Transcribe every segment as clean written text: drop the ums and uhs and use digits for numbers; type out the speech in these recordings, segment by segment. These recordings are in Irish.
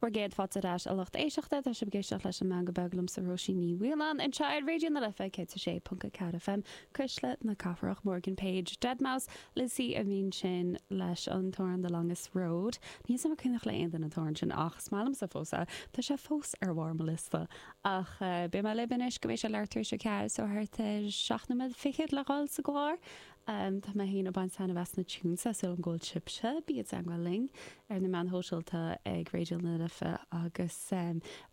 Bhur gcéad fáilte ar ais a lucht éisteachta, tá sibh ag éisteacht leis an Meangadh Beag liomsa Róisín Ní Mhaoláin anseo ar Raidió na Life 106.4 FM, Cuisle na Cathrach, Morgan Page, Deadmau5, Lissie a bhí ansin leis an t-amhrán The Longest Road. Níl 's agam an cuimhneach le aon duine an t-amhrán sin ach is maith liomsa fós é. Tá sé fós ar bharr mo liosta. Ach beidh mé libh anois go mbeidh sé leathuair tar éis a 4 so thart ar 7 nóiméad fichead le dhul sa gclár. Tá mé féin ag baint taitneamh as na tunes, tá súil agam go bhfuil sibhse. Bí i dteagmháil linn ar na meáin shóisialta ag Raidió na Life agus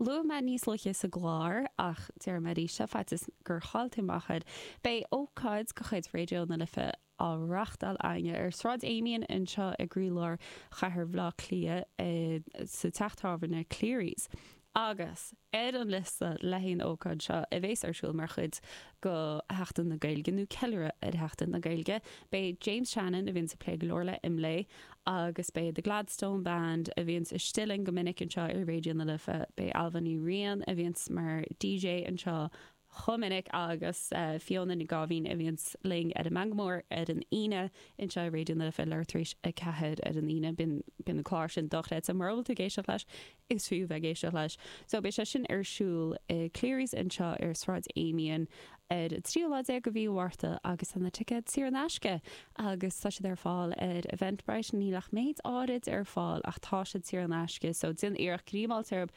luaigh mé níos luaithe sa gclár ach déarfaidh mé arís é faitíos gur chaill tú amach air. Beidh ócáid de chuid Raidió na Life á reachtáil againne ar Sráid Amiens anseo i gcroílár chathair Bhaile Átha Cliath sa teach tábhairne Cleary's. Agus ar an liosta le haghaidh an ócáid seo, a bhéas ar siúl mar chuid go Sheachtain na Gaeilge, nó ceiliúradh ar Sheachtain na Gaeilge, beidh James Shannon, a bhíonns ag plé go leor le IMLÉ, agus beidh The Gladstone Band, a bhíonns istigh linn go minic anseo ar Raidió na Life, beidh Ailbhe Ní Riain, a bhíonns mar DJ anseo chomh minic, agus Fiona Ní Gáibhín, a bhíonns linn ar an Meangadh Mór ar an Aoine anseo ar Raidió na Life, leathuair tar éis a 4 ar an Aoine. Bíonn an clár sin dochreidte. Mura bhfuil tú ag éisteacht leis, Is fiú bheith ag éisteacht leis. So beidh sé sin ar siúl i Cleary's anseo ar Sráid Amiens ar an tríú lá déag de mhí Mhárta agus tá na ticéid saor in aisce agus tá siad ar fáil ar Eventbrite. Níl ach méid áirid ar fáil ach tá siad saor in aisce so déan iarracht greamáilte orthu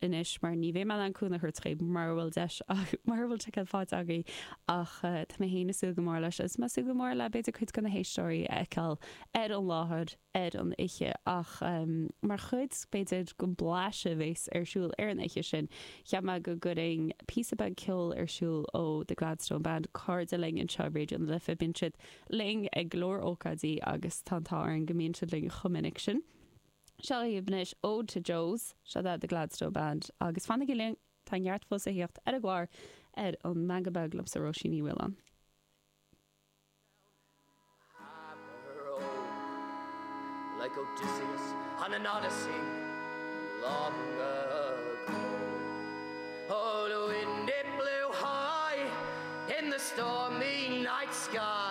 anois mar ní bheidh mé in ann cúnamh a thabhairt dhaoibh mura bhfuil deis mura bhfuil ticéad faighte agaibh ach tá mé féin ag súil go mór leis agus mé ag súil go mór le b'fhéidir cuid de na héisteoirí a fheiceáil ar an láthair. ar an oíche ach mar chuid, b'fhéidir, den bhlaiseadh a bhéas ar siúl ar an oíche sin, cheap mé go gcuirfinn píosa beag ceoil ar siúl ó The Gladstone Band, cairde linn anseo i Raidió na Life. Bíonn siad linn ag go leor ócáidí agus tá an t-ádh orainn go mbíonn siad linn chomh minic sin. Seo dhaoibh anois Ode to Joes, seo The Gladstone Band agus fanaigí linn, tá neart fós a thíocht ar an gclár ar an Meangadh Beag liomsa Róisín Ní Mhaoláin. Like Odysseus on an Odyssey long ago. Oh, the wind it blew high in the stormy night sky.